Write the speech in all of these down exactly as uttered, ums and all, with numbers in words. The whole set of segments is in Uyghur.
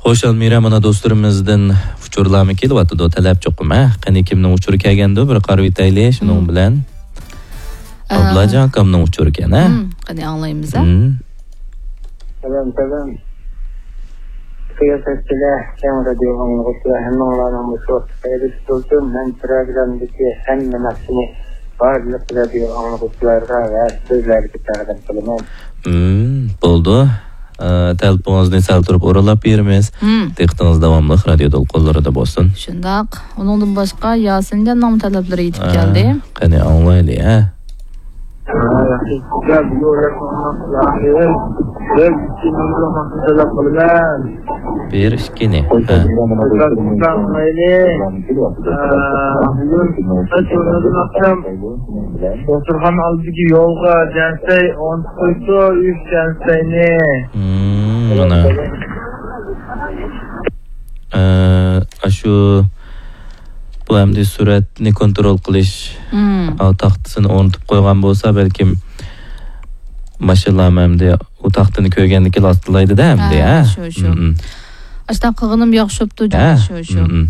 خوش، ئالمىرا، مانا دوستلىرىمىزدىن ئۇچۇرلارمۇ كېلىۋاتىدۇ، تەلەپ چوقۇم، ھە؟ قېنى، كىمنىڭ ئۇچۇرى كەلگەندۇ، بىر قارىۋېتەيلى شۇنىڭ مم. بىلەن. ئە، ئابلاجان ئاكامنىڭ ئۇچۇرى ئىكەن، ھە؟ مم، قېنى، ئاڭلايمىز، ھە؟ مم. سالام، سالام. قىياسەتچىلەر، كەڭ رادىيو ئاڭلىغۇچىلار، ھەممىڭلارنىڭ مۇشۇ ۋاقتى خەيرلىك بولسۇن. مەن پىروگراممىدىكى ھەممە ناخشىنى بارلىق رادىيو ئاڭلىغۇچىلارغا ۋە سىزلەرگە تەقدىم قىلىمەن. مم، بولدى. ئە، تەلىپىڭىزنى سەل تۇرۇپ ئورۇنلاپ بېرىمىز. مم. دىققىتىڭىز داۋاملىق رادىيو دولقۇنلىرىدا بولسۇن. شۇنداق. ئۇنىڭدىن باشقا ياسىنجاننىڭمۇ تەلەپلىرى يېتىپ ئە، كەلدى. قېنى، ئاڭلايلى، ھە؟ بىر ئىككىنى. ھە. دوختۇرخانا ئالدىدىكى يولغا جەنسەي ئون توققۇزدۇ، ئۈچ جەنسەينى. مم، مانا. ئە، ئاشۇ، بۇ ئەمدى سۈرئەتنى كونترول قىلىش، مم. ئا، تاختىسىنى ئورنىتىپ قويغان بولسا، بەلكىم ماشىنىلارمۇ ئەمدى ئۇ تاختىنى كۆرگەندىكىن ئاستىلايدۇ-دە ئەمدى، ھە، ھە؟ شۇ، شۇ. مم، مم. ئاشۇنداق قىلغىنىم ياخشى بوپتۇ، ھە؟ شۇ، شۇ. مم، مم.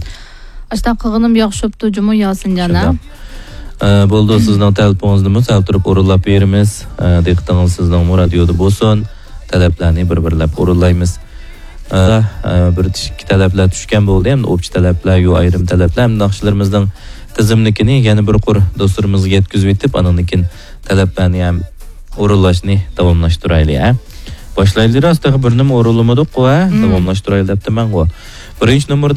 ئاشۇنداق قىلغىنىم ياخشى بوپتۇ، جۇمۇ ياسىنجان، ھە؟ شۇنداق. ئە، بولدى، سىزنىڭ تەلىپىڭىزنىمۇ سەل تۇرۇپ ئورۇنلاپ بېرىمىز. ئە، دىققىتىڭىز سىزنىڭمۇ رادىيودا بولسۇن. تەلەپلەرنى بىر-بىرلەپ ئورۇنلايمىز. ئە، ئە، بىر ئىككى تەلەپلەر چۈشكەن بولدى. ئەمدى ئوپچە تەلەپلەر، يو ئايرىم تەلەپلەر. ئەمدى ناخشىلىرىمىزنىڭ تىزىملىكىنى يەنە بىر قۇر دوستلىرىمىزغا يەتكۈزۈۋېتىپ، ئاندىن كېيىن تەلەپلەرنى ھەم ئورۇنلاشنى داۋاملاشتۇرايلى، ھە. باشلايلى، راست، تېخى بىرنىمۇ ئورۇنلىمىدۇققۇ، ھە. مم. داۋاملاشتۇرايلى دەپتىمەنغۇ. بىرىنچى نومۇر